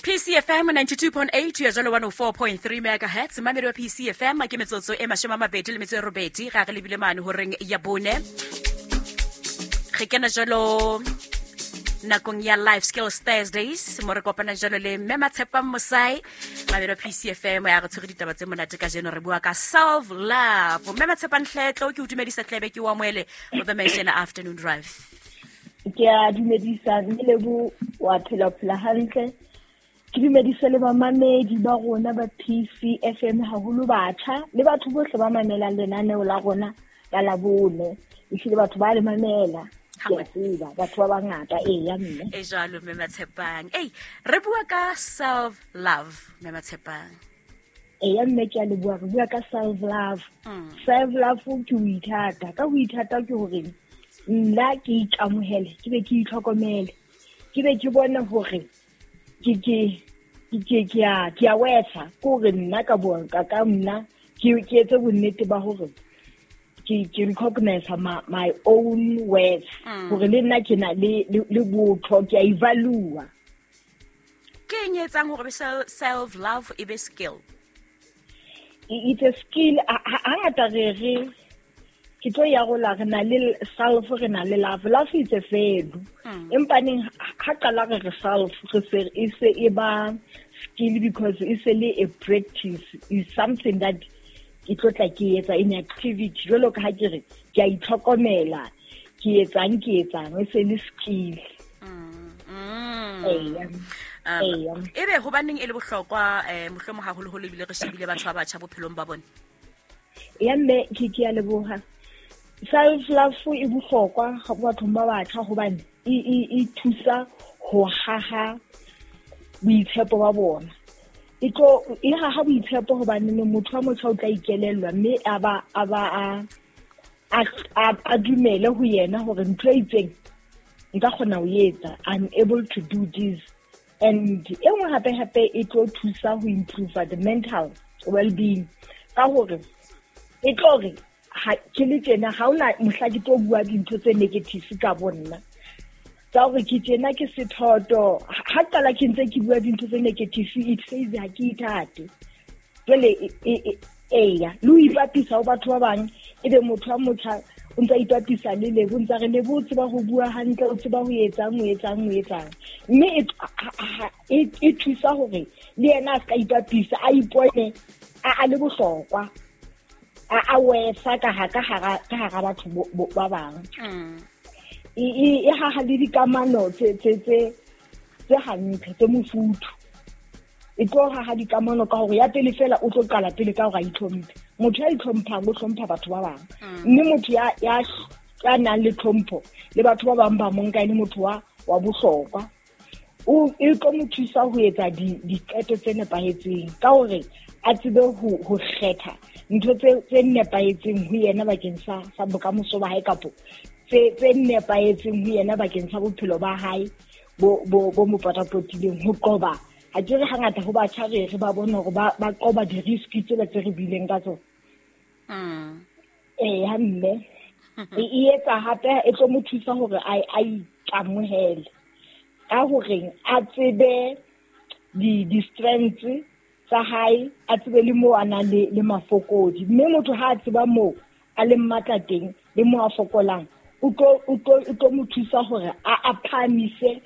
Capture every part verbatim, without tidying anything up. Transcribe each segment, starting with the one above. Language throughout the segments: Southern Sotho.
P C F M ninety-two point eight ya jalo one oh four point three megahertz. Mamedi wa P C F M, ke metsotso e mashome a mabedi le metso e robedi ga re lebile mane horeng ya bone. Re kena jalo nakong ya Life Skills Thursdays, mo re kopana jalo le mme Matshepang Mosai. Mamedi wa P C F M, ya re tshwere ditaba tse monate. Ka jeno re bua ka self love. Mme Matshepang Hletlo, ke o dumedisa tlebe, ke o amoele mo The Mansion Afternoon Drive. Ke a dumedisa, mme Lebo. Wa phela phela hantle? Ke dumedise le bamamedi ba rona ba P C F M, haholo batjha le batho bohle ba mamelang lenaneo la rona la Labone. Ehlile batho ba le mamela, ke a tseba batho ba bangata. Eya, mme. E jalo, mme Matshepang. Ei, re bua ka self love, mme Matshepang. Eya, mme, ke a leboha. Re bua ka self love. Mm. Self love ke ho ithata. Ka ho ithata ke hore nna ke ikamohele, ke be ke itlhokomele, ke be ke bone hore ke ke ke ke a ke a wetsa, ke hore nna ka bo ka ka nna ke ke etse bonnete ba hore ke ke recognize my, my own worth, Mm. hore le nna ke na le le le botho, ke a evalua. Ke eng e etsang hore be self love e be skill? It's a skill. Hangata re re ke tlo ya rola, re na le self, re na le love. Love is a verb, Mm. empa neng ha qala re re self, re se e se e ba skill because e se le a practice, is something that ke tlo tla ke etsa in activity. Jwalo ka ha ke re ke a itlhokomela, ke etsang ke etsang, e se le skill. Mm. Mm. Eya. Um, Eya. Ebe hobaneng e le bohlokwa, eh mohlomong haholoholo ebile re shebile batho ba batjha bophelong ba bona? Ya, mme, ke ke a leboha. Self love e bohlokwa ga bathong ba batjha hobane e e e thusa ho haha boitshepo ba bona. E tlo e haha boitshepo hobane ne motho wa motjha o tla ikelellwa, mme a ba a ba a a a- a dumele ho yena hore ntho e itseng nka kgona ho etsa, I'm able to do this. And e nngwe hape hape, e tlo thusa ho improve the mental well-being, ka hore e tlo re ha ke le tjena, ha hona mohla ke tlo bua dintho tse negative ka bo nna, tsa hore ke tjena, ke sethoto. Ha qala ke ntse ke bua dintho tse negative, it says ha ke ithate. Jwale e- e- e- eya, le ho ipapisa ho batho ba bang, ebe motho wa motjha o ntsa ipapisa le Lebo, o ntsa re Lebo o tseba ho bua hantle, o tseba ho etsang, o etsang, o etsang. Mme e ha- ha- e e thusa hore le yena a ska ipapisa, a ipone a a le bohlokwa, a a wesa ka ha ka hara ka hara batho bo- bo- ba bang. Mm. E e e haha le dikamano tse tse tse tse hantle, tse mofuthu. E tlo haha dikamano ka hore ya pele fela, o tlo qala pele ka hore a itlhomphe. Motho ya itlhomphang o hlompha batho ba bang, mme motho ya ya ya nang le tlhompho, le batho ba bang ba mo nka e le motho wa wa bohlokwa. O e tlo mo thusa ho etsa di diqeto tse nepahetseng, ka hore a tsebe ho ho kgetha ntho tse tse nepahetseng ho yena bakeng sa sa bokamoso ba hae, kapo tse tse nepahetseng ho yena bakeng sa bophelo ba hae bo bo bo mo potapotileng. Ho qoba, ha ke re hangata ho batjha re re ba bone hore ba ba qoba di-risk tsela tse re buileng ka tsona. Mm. Ee, ha mme, e e etsa hape, e tlo mo thusa hore a a ikamohele ka horeng a tsebe di di-strengths tsa hae, a tsebe le moo a nang le le mafokodi. Mme motho ha a tseba moo a leng matla teng le moo a fokolang, o tlo o tlo o tlo mo thusa hore a a phahamise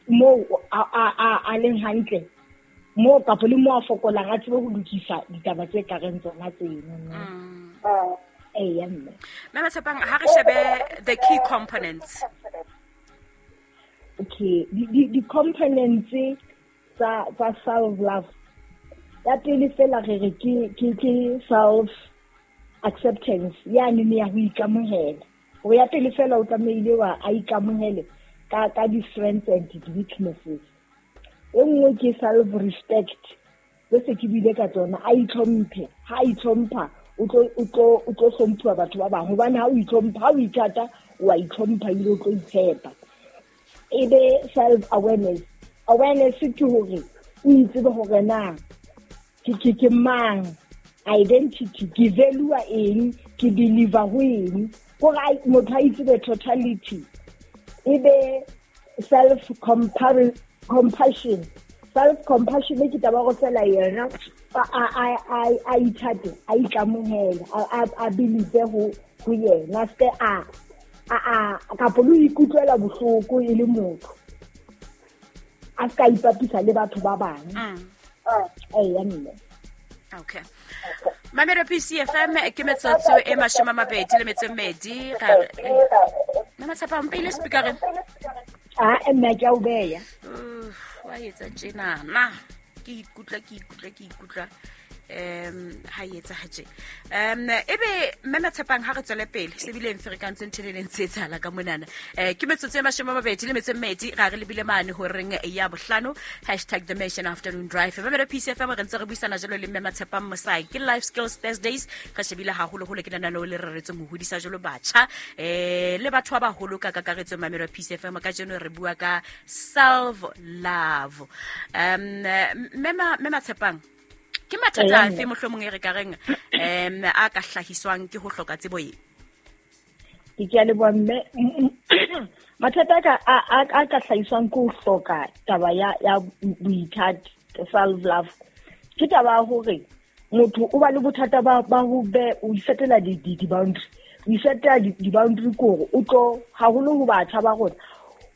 moo a a a a leng hantle moo, kapa le moo a fokolang, a tsebe ho lokisa ditaba tse kareng tsona tseno. Mm. Eya, mme. Mme Matshepang, ha re shebe the key components. Okay, di di di-components tsa tsa self love, ya pele fela re re ke ke ke self acceptance, yane ne ya ho ikamohela. Hore ya pele fela, o tlamehile wa a ikamohele ka ka di-strengths and di-weaknesses. E nngwe ke self respect, tse se ke buile ka tsona. A itlhomphe. Ha a itlhompha, o tlo o tlo o tlo hlomphuwa batho ba bang, hobane ha o itlhompha, ha o ithata, o a itlhompha ebile o tlo itshepa. E be self awareness. Awareness ke hore o itsebe hore na ke ke ke mang, identity, ke value eng, ke believe ho eng, kore a- motho a itsebe totality. E be self compassion. Self compassion ke taba go fela yena a a a a ithate, a ikamohela, a a believe ho ho yena, se a a a ka polo ikutlwela bohloko e le motho, a ska ipapisa le batho ba bang. Eh ya mme. Okay, Mamelo P C F M, ke metsotso e mashome a mabedi le metso e mmedi ga mme Matshepang pele speakereng. A mme, ke a o beya. Wa etsa tjenana, ke ikutlwa ke ikutlwa ke ikutlwa um ha e etsa tje. um ebe mme Matshepang, ha re tswele pele se bile mferekantse ntho e leng tse etsahala ka monana. um ke metsotso e mashome a mabedi le metso e mmedi ga re lebile mane horeng ya bohlano. Hashtag The Nation Afternoon Drive, Mamelo P C F M. Re ntse re buisana jalo le mme Matshepang Mosai, ke Life Skills Thursdays. Re shebile haholoholo ke lenaneo le reretsweng ho hodisa jalo batjha um le batho ba baholo ka kakaretso. Mamelo P C F M, kajeno re bua ka self love. um mme Matshepang, ke mathata afe mohlomong e re ka reng um a ka hlahiswang ke ho hloka tsebo e? Ke ke a leboha, mme. Mathata a ka a ka hlahiswang ke ho hloka taba ya ya boithati, self love, ke taba ya hore motho o ba le bothata ba ba ho be o isetela di di boundary. O isetela di boundary kore o tlo haholo ho batjha ba rona,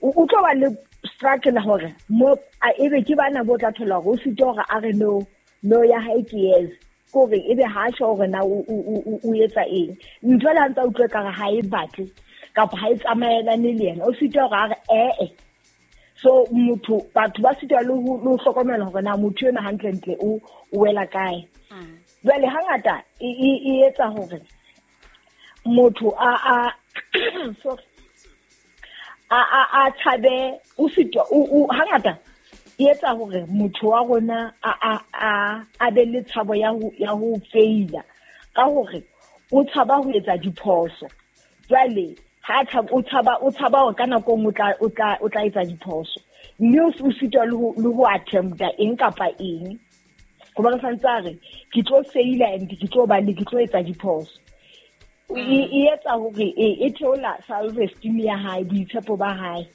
o tlo ba le struggle hore mo ebe ke bana bo tla thola hore o sitwa hore a re no, no ya hae ke yes, kore ebe ha sho hore na o etsa eng. Ntho le ha ntse utlwe ka re ha e batle kapa ha e tsamaelane le yena, o sitwa hore a re ee. So motho, batho ba sitwa le ho hlokomela hore na motho ena hantlentle o o wela kae. Jwale hangata e e etsa hore motho a a sorry, a a a tshabe, o sitwa o hangata e etsa hore motho wa rona a a a a be le tshabo ya ho ya ho faila, ka hore o tshaba ho etsa diphoso. Jwale ha tshaba, o tshaba o tshaba hore ka nako nngwe o tla o tla o tla etsa diphoso, mme o sitwa le ho le ho attempta eng kapa eng, hobane santse a re ke tlo faila and ke tlo ba le ke tlo etsa diphoso. E etsa hore e theola self esteem ya hae, boitshepo ba hae,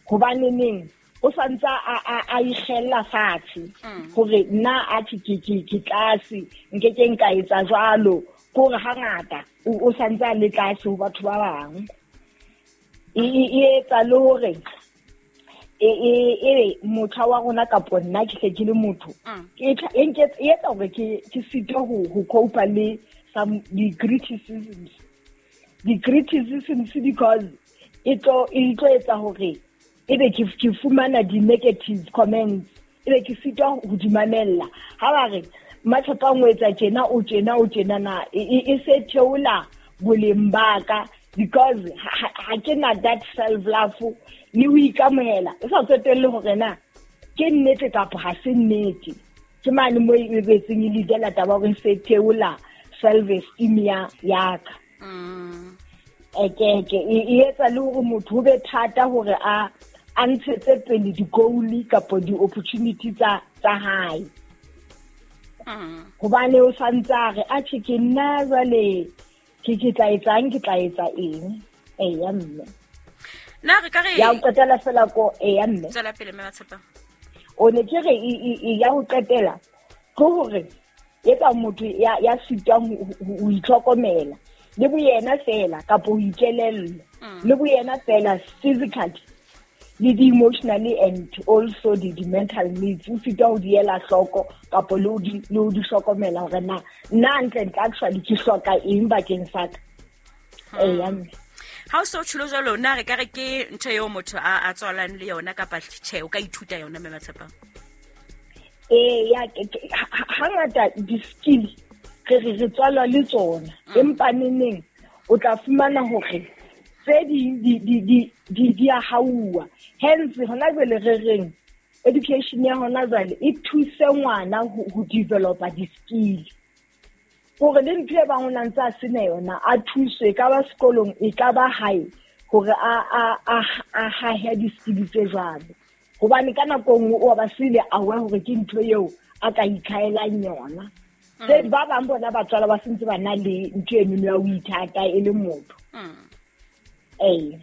hobane neng o santsa a a a ikgella fatshe hore nna a ke ke ke ke tlase, nke ke nka etsa jwalo, kore hangata o santsa le tlase ho batho ba bang. E e etsa le hore e e e motho wa rona kapo nna ke hle ke le motho, e e etsa hore ke ke sitwe ho ho cope le some the criticisms the criticisms because e tlo e tlo etsa hore ebe ke ke fumana di-negative comments, ebe ke sitwa ho di mamella. Ha ba re Matshepang o etsa tjena, o tjena, o tjena, na e se theola boleng ba ka, because ha ke na that self love le ho ikamohela, o sa tsotelle hore na ke nnete kapa ha se nnete. Ke mane mo e betseng e leadela taba hore se theola self esteem ya ya ka. Eke ke e etsa le hore motho ho be thata hore a a ntshetse pele di-goal kapa di-opportunity tsa tsa hae, hobane o santse a re atjhe, ke nna jwale ke ke tla etsang, ke tla etsa eng. Eya mme. Na re ka re Ya ho qetela fela ko, eya mme. Tswela pele, mme Matshepang. O ne ke re ya ho qetela ke hore etsa motho ya ya sitwang ho itlhokomela le boyena fela kapa ho ikelella le boyena fela, physically le di-emotionally and also the, the mental needs, o sitwa ho di ela hloko kapa le ho di le ho di hlokomela hore na nna hantle-ntle actually ke hloka eng bakeng sa ka. Eya mme. Ha o so tjholo jwalo, na re ka re ke ntho eo motho a a tswalang le yona kapa tjhe, o ka ithuta yona, mme Matshepang? Ee, ya hangata di-skill re re re tswalwa le tsona, empa neneng o tla fumana hore tse ding di di di di di a hauwa. Hence hona jwale re reng education ya hona jwale e thuse ngwana ho developa di-skill, hore le ntho e bang o na ntse a sena yona a thuswe, e ka ba sekolong, e ka ba hae, hore a a a a hahe di-skill tse jwalo, hobane ka nako nngwe o ba sile aware hore ke ntho eo a ka ikhaelang yona. Tse ba bang bona ba tswala ba sentse ba na le ntho eno ya ho ithata e le motho. Ee.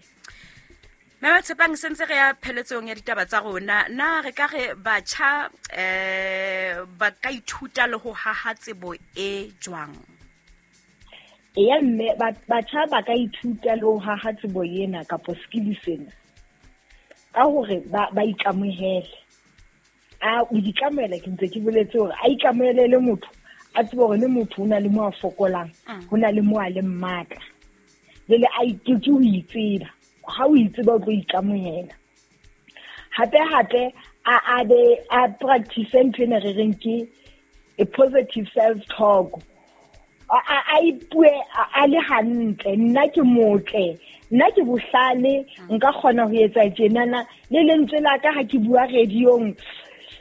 Mme Tshepang, sentse re ya pheletsong ya ditaba tsa rona, na re ka re batjha eh ba ka ithuta le ho haha tsebo e jwang? Eya mme, batjha ba ka ithuta le ho haha tsebo ena kapo skill sena ka hore ba ba ikamohele. A o ikamohela, ke ntse ke boletse hore a ikamohele le motho, a tsebe hore le motho o na le mo a fokolang, ho na le mo a leng matla. Jwale a ke ho itseba, ha o itseba o tlo ikamohela. Hape hape a a be a practice ntho ena re reng ke a positive self talk. A a ipue a le hantle, nna ke motle, nna ke bohlale, nka kgona ho etsa tjenana, le lentswe la ka ha ke bua radiong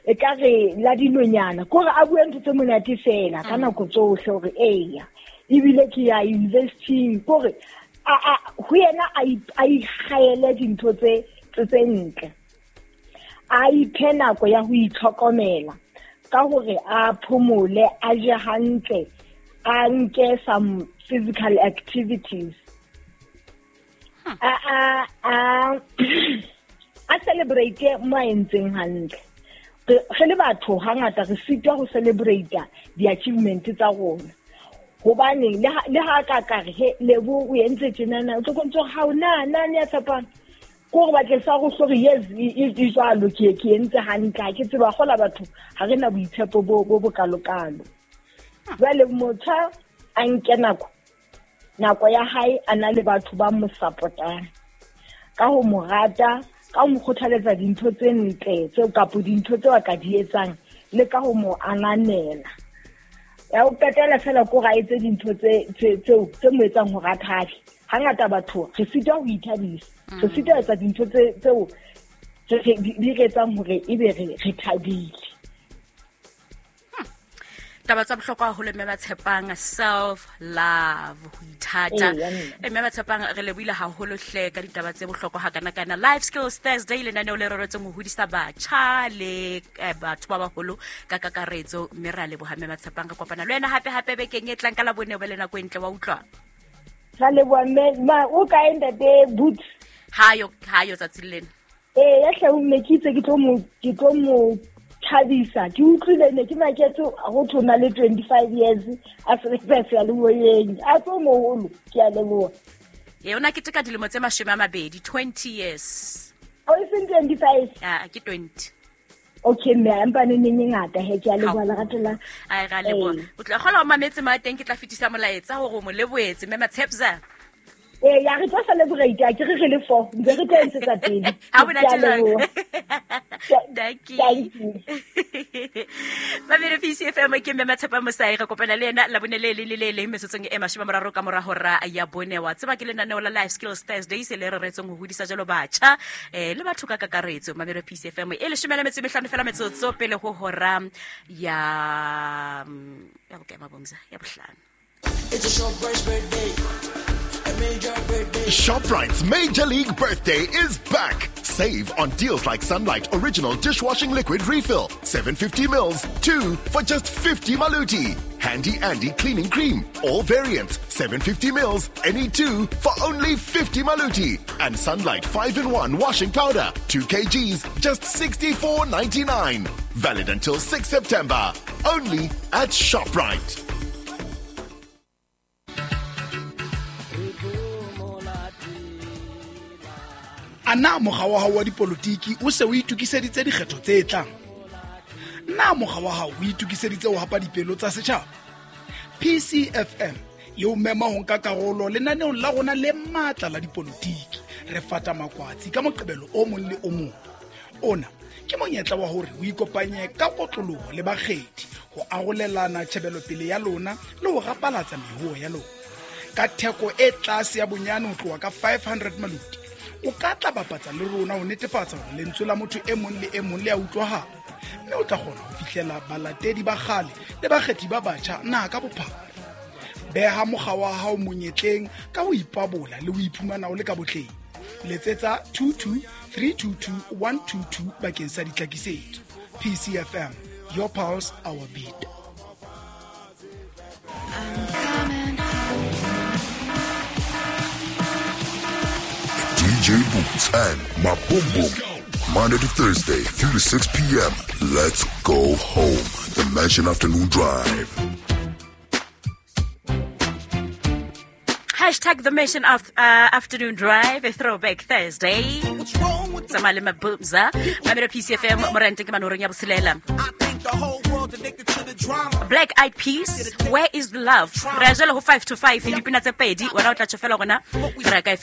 e ka re la dinonyana, kore a bue ntho tse monate fela ka nako tsohle hore eya ebile ke ya university, kore a a ho yena a a ikgaele dintho tse tse ntle. A iphe nako ya ho itlhokomela ka hore a phomole, a je hantle, a nke some physical activities. A a a a celebrate mo a entseng hantle. Re le batho hangata re sitwa ho celebrate di-achievement tsa rona. Hobane le ha ka ka re he Lebo o entse tjenana, o tlo kontso ha o na na ne ya tshepang. Ko re batle sa go hlore yes e jwalo ke ke entse hantle, ha ke tseba gola batho ha re na boitshepo bo bo bokalokalo. Jwale motho a nke nako nako ya hae a na le batho ba mo support-ang ka ho mo rata, ka ho mo kgothaletsa dintho tse ntle tseo kapo dintho tseo a ka di etsang, le ka ho mo ananela. Ya ho qetela fela ko ra etse dintho tse tseo tse mo etsang hore a thabe. Hangata batho re sitwa ho ithabisa, re sitwa ho etsa dintho tse tseo di re etsang hore ebe re re thabile. Taba tsa bohlokwa haholo mme Tshepang, self love, ho ithata. Mme Tshepang, re lebohile haholo hle ka ditaba tse bohlokwa hakana-kana. Life Skills Thursday, lenaneo le reretsweng ho hodisa batjha le batho ba baholo ka kakaretso. Mme re a leboha mme Tshepang, re kopana le wena hape hape bekeng e tlang ka Labone, o be le nako e ntle, wa utlwa? Ra leboha mme, ma o kae ntate Boots? Hayo, hayo tsatsing lena. Eh, ya hle mme ke itse ke tlo mo ke tlo mo thabisa. Ke utlwile ne ke maketse go thona le twenty-five years a sebetsa seyalemoyeng, a tlo moholo, ke a leboha. Ye ona ke teka dilemo tse mashome a mabedi, twenty years. O e seng twenty-five? Ah, ke twenty. Okay mme, empa ne neng e ngata he, ke a leboha lerato la. Ai ra leboha. O tla kgola o mametse ma teng, ke tla fetisa molaetsa hore o mo lebohetse mme Matshepza. Eh, ya re tlo celebrate, a ke re re le four, ntse re tlo ntshetsa pele. Ha bona tjena. Thank you. Thank you. Mamele P C F M ke mme Matshepa Mosai, re kopana le yena Labone le le le le metsotsong e mashome a mararo ka mora hora ya bone. Wa tseba ke lenaneo la Life Skills Thursday se le reretsweng ho hodisa jalo batjha eh le batho ka kakaretso. Mamele P C F M e leshome le metso e mehlano fela metsotso pele ho hora ya ya bokae mabomza ya bohlano. It's a ShopRite's birthday. Major birthday. ShopRite's Major League Birthday is back. Save on deals like Sunlight Original Dishwashing Liquid Refill, seven fifty mils, two for just fifty maluti. Handy Andy Cleaning Cream, all variants, seven fifty mils, any two for only fifty maluti. And Sunlight five in one Washing Powder, two kilograms, just sixty-four ninety-nine. Valid until sixth September. Only at ShopRite. Ana mokga wa hao wa dipolotiki o se o itokiseditse dikgetho tse tlang? Na mokga wa hao o itokiseditse ho hapa dipelo tsa setjhaba? P C F M e o mema ho nka karolo lenaneong la rona le matla la dipolotiki. Re fata makwatsi ka Moqebelo o mong le o mong. Ona ke monyetla wa hore o ikopanye ka kotloloho le bakgethi ho arolelana tjhebelopele ya lona le ho rapalatsa mehuo ya lona. Ka theko e tlase ya bonyane ho tloha ka five hundred maluti, o ka tla bapatsa le rona ho netefatsa hore lentswe la motho e mong le e mong le a utlwahala, mme o tla kgona ho fihlela balatedi ba kgale le bakgethi ba batjha naha ka bophara. Beha mokga wa hao monyetleng ka ho ipabola le ho iphumana o le ka botleng. Letsetsa two two three two two one two two bakeng sa ditlhakisetso. P C F M, your pulse, our beat. I'm coming. Do D J Boots and Maboom Boom. Monday to Thursday, three to six p m. Let's go home. The Mansion Afternoon Drive. Hashtag the Mansion of, uh, Afternoon Drive, a Throwback Thursday. Tsamaya le Mabumza. Mamelo P C F M, morente ke manoreng ya botshelela. Black Eyed Peas, "Where Is the Love?" Re a jalo ho five to five, dipina tse pedi, wena o tla tjho fela gona re ya ka efe.